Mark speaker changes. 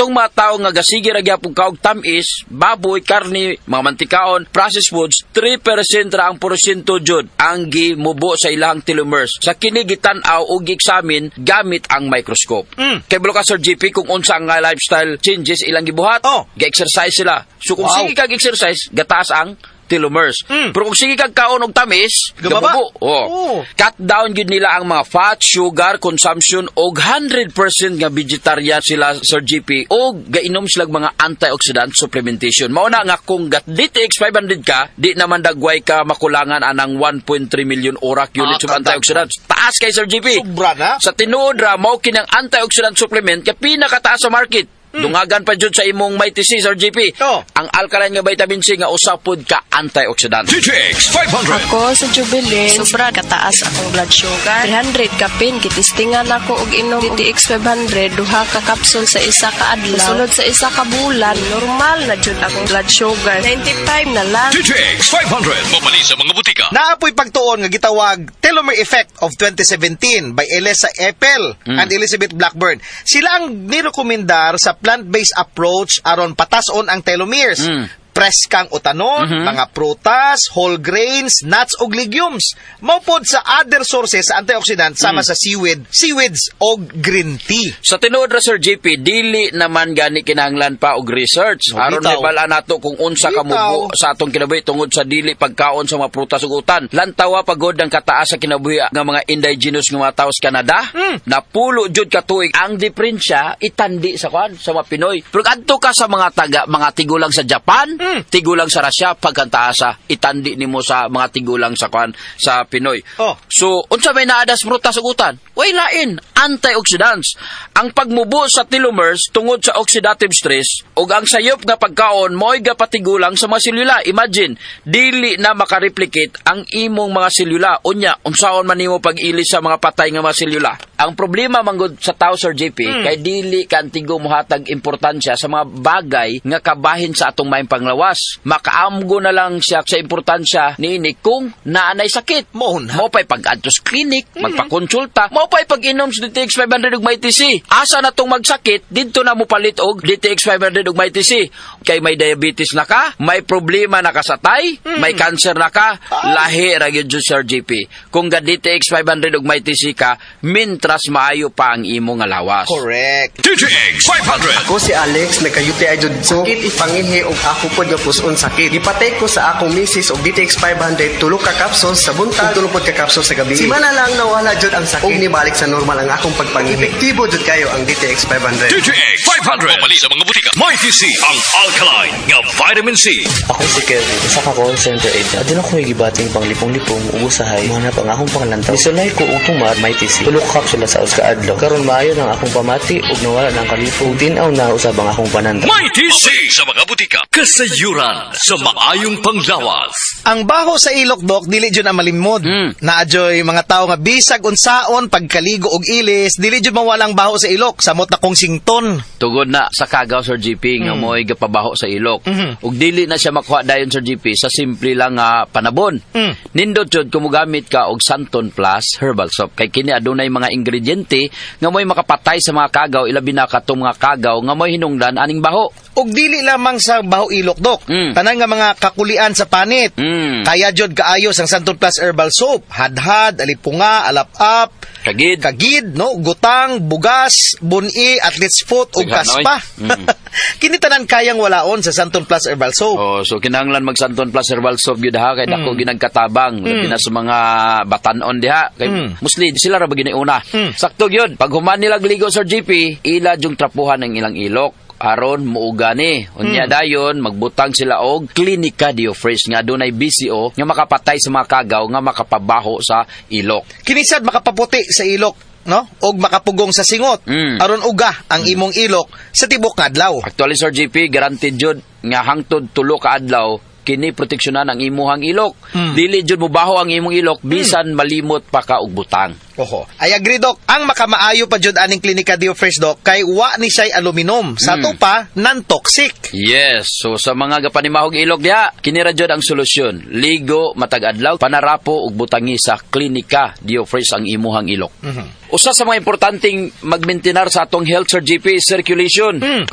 Speaker 1: Katong mga tao nga gasige ra gyapon kaog tamis, baboy, karni, mga mantikaon, processed foods, 3% ra ang porsyento jud ang gimubo sa ilang telomeres. Sa kini gitan-aw ug gi-examine gamit ang microscope. Kay balo ka, Sir GP, kung unsa ang lifestyle changes ilang gibuhat?
Speaker 2: Oh.
Speaker 1: Ga-exercise sila. So kung sige kag exercise, gataas ang telomeres. Pero kung sige kag kaon og tamis,
Speaker 2: gababa.
Speaker 1: Gamubo. Oh.
Speaker 2: Oh.
Speaker 1: Cut down gyud nila ang mga fat, sugar consumption og 100% nga vegetarian sila, Sir GP, og gainom sila og mga antioxidant supplementation. Mao na nga kung gat DTX 500 ka, di naman dagway ka makulangan anang 1.3 million ORAC units of antioxidants. Taas kay, Sir GP.
Speaker 2: Sobra na.
Speaker 1: Sa tinuod ra mao kinang antioxidant supplement kay pinakataas sa market. Dungagan pa jud sa imong Mighty C, Sir GP.
Speaker 2: Oh.
Speaker 1: Ang alkaline nga vitamin C nga usa pod ka antioxidant.
Speaker 3: DTX 500.
Speaker 4: Ako sa Jubilee, sobra kataas akong blood sugar. 300 kapin, gitistingan ako og inom DTX 500, duha ka kapsul sa isa ka adlaw. Sulod sa isa ka bulan, normal na jud akong blood sugar. 95 na lang.
Speaker 3: DTX 500. Mabali sa mga butika.
Speaker 2: Naapoy pagtuon nga gitawag Telomere Effect of 2017 by Elisa Epel and Elizabeth Blackburn. Sila ang nirekomendar sa plant-based approach aron patason ang telomeres. Preskang utanon, mga prutas, whole grains, nuts ug legumes. Mao pod sa other sources sa antioxidant sama sa seaweed, seaweeds og green tea.
Speaker 1: Sa tinuod ra, Sir JP, dili naman gani kinahanglan pa og research
Speaker 2: No,
Speaker 1: aron
Speaker 2: bitaw.
Speaker 1: mibal-an nato kung unsa ka mubo sa atong kinabuhi tungod sa dili pagkaon sa mga prutas ug utan. Lantawa pagod ang kataas sa kinabuhi nga mga indigenous nga mga tao sa Canada. Napulo jud ka tuig ang diferensya itandi sa kwan sa mga Pinoy. Pero adto ka sa mga taga mga tigulang sa Japan, tigulang sa Russia, pagkantaasa itandi nimo sa mga tigulang sa kwan sa Pinoy.
Speaker 2: Oh.
Speaker 1: So, unsa may naadas prutas ug utan? Way lain, antioxidants. Ang pagmubo sa telomeres tungod sa oxidative stress ug ang sayop nga pagkaon mo'y gapatigulang sa mga selula. Imagine, dili na makareplicate ang imong mga selula. Unya, unsaon man nimo pag-ilis sa mga patay nga mga selula? Ang problema manggod sa tao, Sir JP, kay dili kantigo mohatag importansya sa mga bagay nga kabahin sa atong maayong panglawas. Makaamgo na lang siya sa importansya niini kung naanay sakit.
Speaker 2: Mao na.
Speaker 1: Mao pa'y pag-adto sa clinic, magpakonsulta, mao pa'y pag-inom sa DTX 500 ug Mighty C. Asa na tong magsakit, didto na mo palit og DTX 500 ug Mighty C. Kay may diabetes na ka, may problema na ka sa tay, may cancer na ka, lahi ra gyud, Sir JP. Kung ga DTX 500 ug Mighty C ka, mintras maayo pa ang imong nga lawas.
Speaker 2: Correct.
Speaker 3: DTX 500.
Speaker 5: Ako si Alex, nagka-UTI jud ko. Sakit ipangihi og ako pod nga puson sakit. Gipatake ko sa akong misis og DTX 500, tulo ka capsules sa buntag, tulo pod ka capsules sa gabi. Simana lang nawala jud ang sakit. Ug nibalik sa normal ang akong pagpangihi. Epektibo jud kayo ang DTX 500.
Speaker 3: DTX 500. Mabali sa mga butika. Mighty C. Ang alkaline nga vitamin C.
Speaker 6: Ako si Kevin, usa ka call center agent. Aduna ko gibating panglipong-lipong ug usahay mo ang akong panglantaw. Nisulay ko og tumar Mighty C. Tulo ka kapsula sa usa ka adlaw. Karon maayo nang akong pamati ug nawala na ang kalipong. Ug tin-aw na usab ang akong panantaw.
Speaker 3: Mighty C sa mga butika. Kasayuran sa maayong panglawas.
Speaker 2: Ang baho sa ilok, dok, dili jud ang malimod. Naadyoy mga tao nga bisag unsaon pagkaligo og ilis, dili jud mawala ang baho sa ilok, samot na kong sington.
Speaker 1: Tugod na sa kagaw, Sir GP, nga mo'y gapabaho sa ilok. Ug dili na siya makuha dayon, Sir GP, sa simple lang nga panabon. Nindot jud kung mogamit ka og Santon Plus Herbal Soap kay kini adunay mga ingrediente nga mo'y makapatay sa mga kagaw, ilabi na katong mga kagaw nga mo'y hinungdan aning baho.
Speaker 2: Ug dili lamang sa baho ilok, dok. Tanan nga mga kakulian sa panit. Kaya jud kaayo sang Santon Plus Herbal Soap. Hadhad, alipunga, alap-up,
Speaker 1: Kagid.
Speaker 2: Kagid, no? Gutang, bugas, buni, athlete's foot, ug
Speaker 1: Sighan,
Speaker 2: kaspa.
Speaker 1: oy.
Speaker 2: Kini tanan kayang walaon sa Santon Plus Herbal Soap.
Speaker 1: Oh, so kinahanglan mag Santon Plus Herbal Soap gyud ha kay dako ginagkatabang labi na sa mga batanon diha kay mostly sila ra ba giniuna. Sakto gyud. Pag human nila ligo, Sir GP, ila jung trapuhan ang ilang ilok aron muuga ni. Unya dayon magbutang sila og Klinika Dio Fresh nga adunay BCO nga makapatay sa mga kagaw nga makapabaho sa ilok.
Speaker 2: Kini sad makapaputi sa ilok, no? Og makapugong sa singot. Aron uga ang imong ilok sa tibok nga adlaw.
Speaker 1: Actually, Sir GP, guaranteed jud nga hangtod 3 ka adlaw kini proteksyonan ang imuhang ilok. Dili jud mobaho ang imong ilok bisan malimot pa ka og butang.
Speaker 2: Oho. I agree, Dok. Ang makamaayo pa jud aning Klinika Dio Fresh, Dok, kay wa ni siya'y aluminum. Sa ato pa, non-toxic.
Speaker 1: Yes. So sa mga gapanimahog ilok diha, kini ra jud ang solusyon. Ligo matag adlaw, panarapo ug butangi sa Klinika Dio Fresh ang imuhang ilok. Usa sa mga importanteng magmaintenar sa atong health, Sir GP, is circulation. Kung